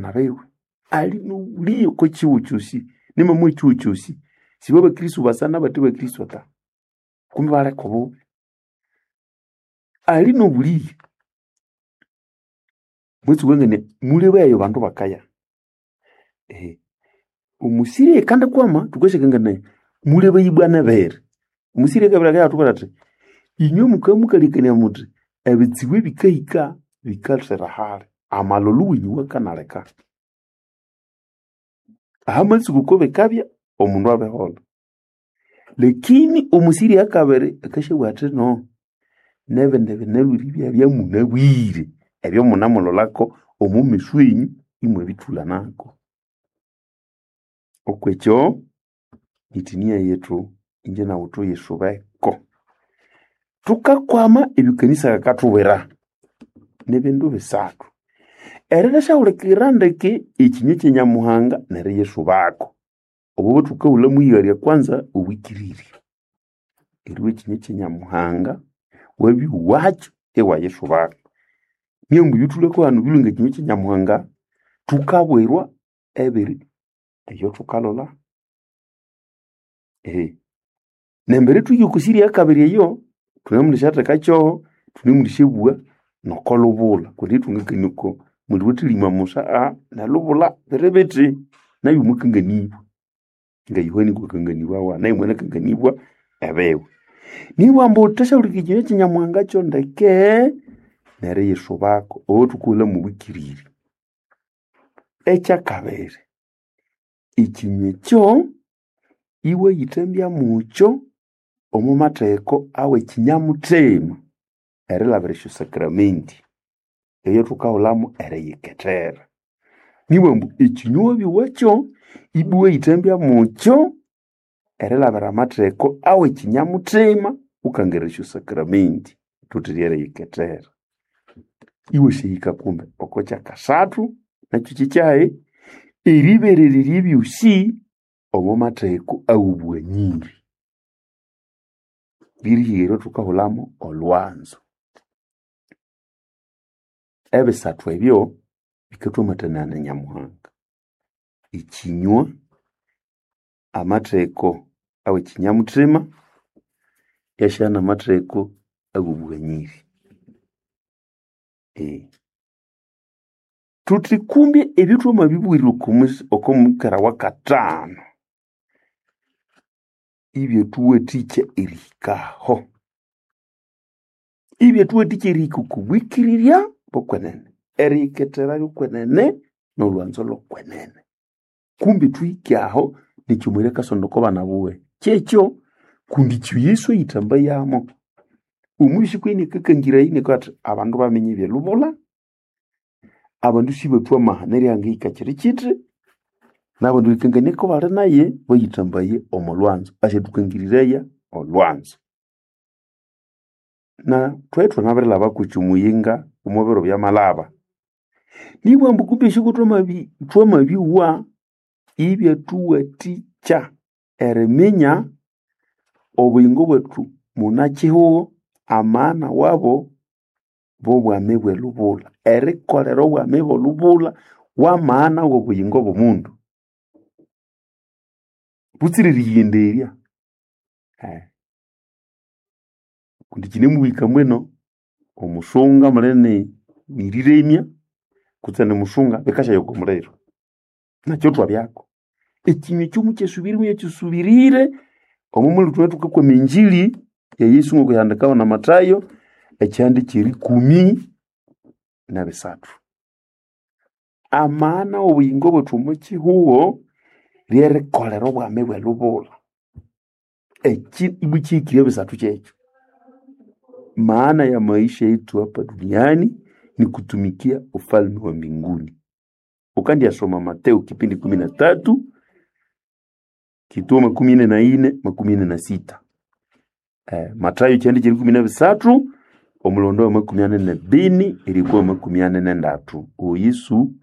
bana biwe. Ali n'obuliye oko kihugho kyosi, nimamwa ekihugho kyosi. Sibo abakristo basana bate bakristo ta. Kumbe baleka obubi. Ali n'obuliye. Mwitsuka ngene mulebayo bandu bakaya. Ehe. Omusiri kandi kwama tukashakangana mulebayi bwana bere. Omusiri akabira akayatubwira athi inywe mukamukalikania muthi ebitsibu ebikahika bikathera hali amalulu wenyu wakanaleka. Ahamatsuku ko bikabya omundu abiholha. Lakini omusiri akabiri akashabugha athi no nebindi binalhwire ibyabya munabwire ebyo munamulholako omo mesu enyu imwabithulanako. Okwekyo itinia yethu inje nawu tuyisubeko. Thukakwama ebyo kanisa yakathubwira nibindu bisathu. Erithasyahulhikirira ndeke ekinywa kya Nyamuhanga neriyisubako. Obo thukahulha mwighalya kwanza obwikirirye. Eribya ekinywa kya Nyamuhanga wabyowa iwayisubako. Niyo ebyothulhwako hanu bilwe ngekinywa kya Nyamuhanga thukabwirwa ebiri ebyothukalholha. Ehe. Nembere thuhike oko siri eyakabiri eyo thunemundisyatheka kyoho thunemundisyabugha noko lubulha kundi ithwangakania oko muli wathilima musa nelubulha biri bithi nayu mwakanganibwa nga Yohana kwakanganibawa nayu mwanakanganibwa ebiwe. Nibwa ambu wuthasyahulikirira ekinywa kya Nyamuhanga kyo ndeke neriyisubako obo thukaghulha mobwikirire. Ekyakabiri ekinywa ekyo iwayithambya mukyo omo matheko awekinyamuthima erilhabira esyosakramenti eyathukahulhamu eriyikethera. Nibughambu ekinywa wabyowa ibwa iwayithambya mukyo erilhabira amatheko awekinyamuthima wukangira esyosakramenti thuthi ryeriyikethera. Iwasyahika kumbe oko kyakasathu nakyo kyekyahi eriberererya ebyosi omo matheko awobughaniri. Lirihika eryathukahulhamu olhwanzo. Ebisathu ebyo bikathwamathanaya na Nyamuhanga. Ekinywa, amatheko awekinyamuthima, iyasyabya namatheko awobughaniri. Thuthi kumbi ebyo thwamabibugha oko mukera wakathanu ibyathuwathikya erihikaho. Ibyathuwathikya erihika oko bwikirirya bokwenene, eriyikethera lyokwenene nolhwanzo lhokwenene. Kumbi thuhike aho nikyo omweri akasonda oko bana buwe. Kyekyo kundi ekyo Yesu eyithambayamo. Omubisi kwenene akakangiraya inakabugha athi abandu baminya ebyelubulha, abandu sibathwa amahano erihangahika kyiri kyithi, nabandu erikangania kubali naye bayithambaye omo lhwanzo. Asyathukangiriraya olhwanzo. Na thwabya ithwanabirilhaba kwekyo omuyinga omo biro byamalhaba. Nibughambu kumbi esyo thwamabyowa ibyathuwathikya eriminya obuyingo bwethu munakyihugho amana wabo bobwami bwelubulha. Erikolera obwami bwelubulha wamana wobuyingo bwomundu. Butsira eriyighenderya. Kundi kyinemuhika mbwino omusunga munene niriremya kutse nimusunga bikasyaya oko muliro. Nakyo thwabyako. Ekinywa ekyo mukyasubire muyakyisubirire omo mulhu thwabya thukakwama enjili ya Yesu ngokuyahandikawa na Matayo ekyihanda kyerikumi nabisathu. Amana wobuyingo bwethu omo kyihugho lyerikolera obwami bwelubulha. Ekyi ibwa kyihikire ebisathu kyekyo. Maana ya maisha yetu hapa duniani ni kutumikia ufalme wa mbinguni. Ukandyasoma Mateo kipindi 13 kituo 44 46. Matayo ekyihanda kyerikumi nabisathu omulondo wa 44 erikwa 43. Owo Yesu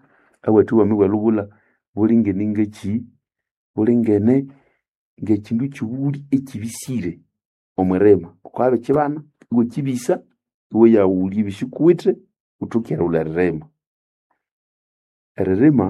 awathe obwami bwelubulha bulingene ngekyi? Bulingene ngekyindu kyighuli ekyibisire omwirima. Wukabya wabirikyibana iwakyibisa iwayaghulya ebisikuwithe wuthoke erighulha eririma. Eririma.